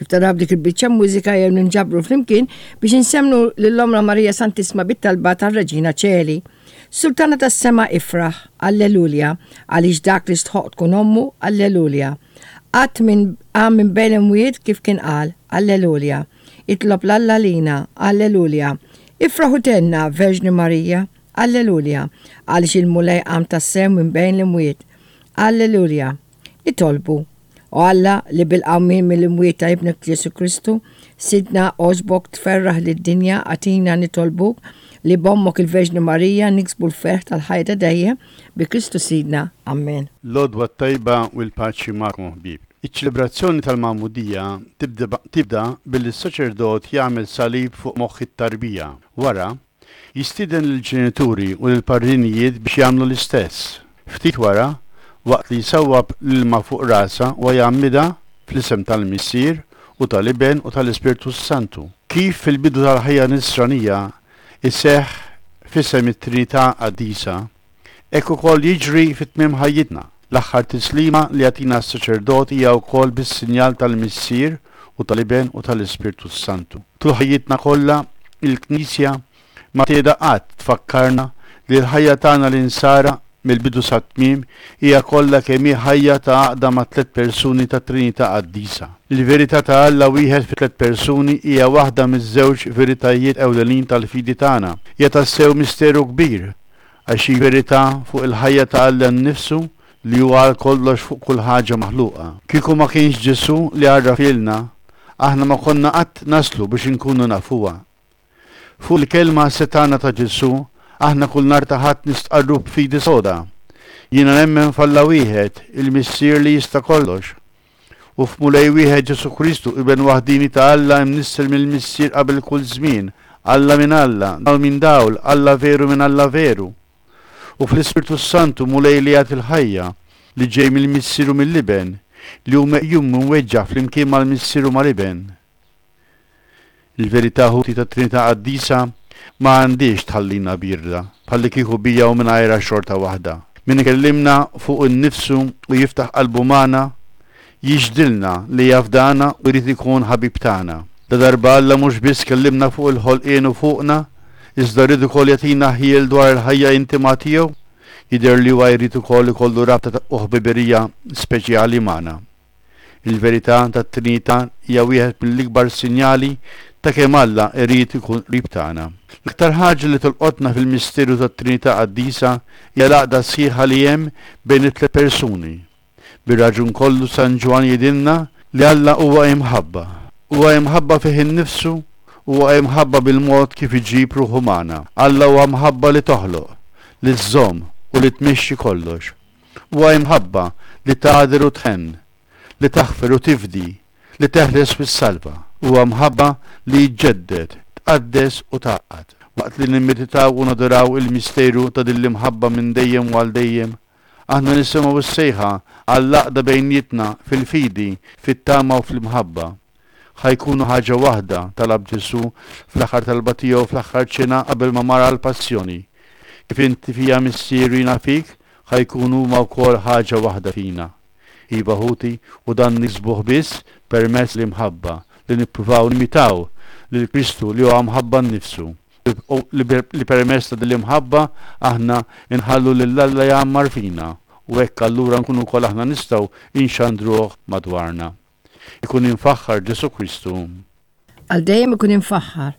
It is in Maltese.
Kif taraw dik il-biċċa mużika jew ninġabru flimkien biex insemnu lil Ommna Marija Santissma bit-talba tar-Reġina Ċeli. Sultana tas-sema ifraħ, Alleluja, għaliex dak li stħoqq tkun ommu, Alleluja. Qatt minn qam minn bejn l-imwiet kif kien qal, Alleluja. Itlob 'l Alla għalina, Alleluja. Ifraħ u thenna, Verġni Marija, Alleluja, għaliex il-Mulej qam tassew minn bejn l-imwiet. Alleluja. Nitolbu. O Alla, li bil-qawmien mill-imwiet ta' Ibnek Ġesù Kristu, Sidna, għoġbok tferraħ lid-dinja, agħtina nitolbuk li b'Ommok il-Verġni Marija niksbu l-ferħ tal-ħajja ta' dejjem, bi Kristu Sidna. Ammen. L-għodwa t-tajba u l-paċi magħkom ħbieb. Iċ-ċelebrazzjoni tal-Magħmudija tibda billi s-saċerdot jagħmel salib fuq moħħ it-tarbija. Wara, Jistieden lill-ġenituri u lill-parrinijiet biex jagħmlu l-istess. Ftit wara, waqt li jsawwab l-ilma fuq rasha huwa jgħammidha fl-isem tal-Missier u tal-Iben u tal-Ispirtu s-Santu. Kif fil-bidu tal-ħajja nisranija jseħħ f'isem it-Trinità Qaddisa, hekk ukoll jiġri fi tmiem ħajjitna. L-aħħar tislima li jagħtina s-saċerdot hija wkoll bis-sinjal tal-Missier u tal-Iben u tal-Ispirtu s-Santu. Tul ħajjitna kollha, il-Knisja ma tieda qatt tfakkarna li l-ħajja tagħna l-Insara, mill-bidu sat-tmiem, hija kollha kemm hi ħajja ta' għaqda mat-tliet persuni tat-Trinità Qaddisa. Il-verità ta' Alla wieħed fi tliet persuni hija waħda miż-żewġ veritajiet ewlenin tal-fidi tagħna. Hija tassew misteru kbir, għax hi verità fuq il-ħajja ta' Alla nnifsu li hu għal kollox fuq kull ħaġa maħluqa. Kieku ma kienx Ġesù li għarrafhielna, aħna ma konna qatt naslu biex inkunu nafuha. Fuq il-kelma setgħana ta' Ġesù, aħna kull nhar ta' Ħadd nistqarru b'fidi soda, Jiena nemmen f'Alla wieħed, il-Missier li jista' kollox, u f'Mulej wieħed Ġesù Kristu, Iben waħdieni ta' Alla imnissel mill-Missier qabel kull żmien, Alla minn Alla, dawl minn dawl, Alla veru minn Alla veru. U fl-Ispirtu s-Santu, Mulej li jagħti l-ħajja, li ġej mill-Missier u mill-Iben, li hu meqjum u mweġġa' flimkien mal-Missier u mal-Iben. Il-verità ħuti tat-Trinità Qaddisa ma għandhiex tħallina bierda, bħallikieku bija u mingħajrha xorta waħda. Min ikellimna fuqu nnifsu u jiftaħ qalbu magħna, jixhdilna li jafdana u jrid ikun ħabib tagħna. Ladarba Alla mhux biss kellimna fuq il-ħolqien u fuqna, iżda ried ukoll jagħtina ħjiel dwar il-ħajja intima tiegħu, jidher li huwa jrid ukoll ikollu rabta u ħbiberija speċjali magħna. Il-verità tat-Trinità hija wieħed mill-ikbar sinjali ta' kemm Alla jrid ikun qrib tagħna. L-aktar ħaġa li tolqotna fil-misteru tat-Trinità Qaddisa hija l-għaqda sħiħa li hemm bejn it-tliet persuni. Bir-raġun kollu San Ġwann jgħidilna li Alla huwa imħabba. Huwa imħabba fih innifsu, huwa imħabba bil-mod kif iġib ruħu magħna. Alla huwa mħabba li toħloq, li żżomm u li tmexxi kollox. Huwa imħabba li tagħder u tħenn, li taħfer u tifdi, li teħles u ssalva. Huwa mħabba li ġġedded, tqaddes u tgħaqqad. Waqt li nimmeditaw u nadoraw il-misteru ta' din l-imħabba minn dejjem u għal dejjem, aħna nisimgħu s-sejħa għall-għaqda bejnietna fil-fidi, fit-tama u fl-imħabba. Ħa jkunu ħaġa waħda, talab Ġesù fl-aħħar talba tiegħu fl-aħħar ċena qabel ma mar għall-passjoni. Kif inti fija Missier u jiena fik, ħa jkunu huma wkoll ħaġa waħda fina. Iva ħuti, u dan niksbuh biss permezz l-imħabba, li nippruvaw nimitaw lil Kristu li huwa mħabba nnifsu, li permezz ta' din l-imħabba aħna nħallu lil Alla jgħammar fina, u hekk allura nkunu wkoll aħna nistgħu nxandruh madwarna. Ikun imfaħħar Ġesù Kristu. Għal dejjem ikun imfaħħar.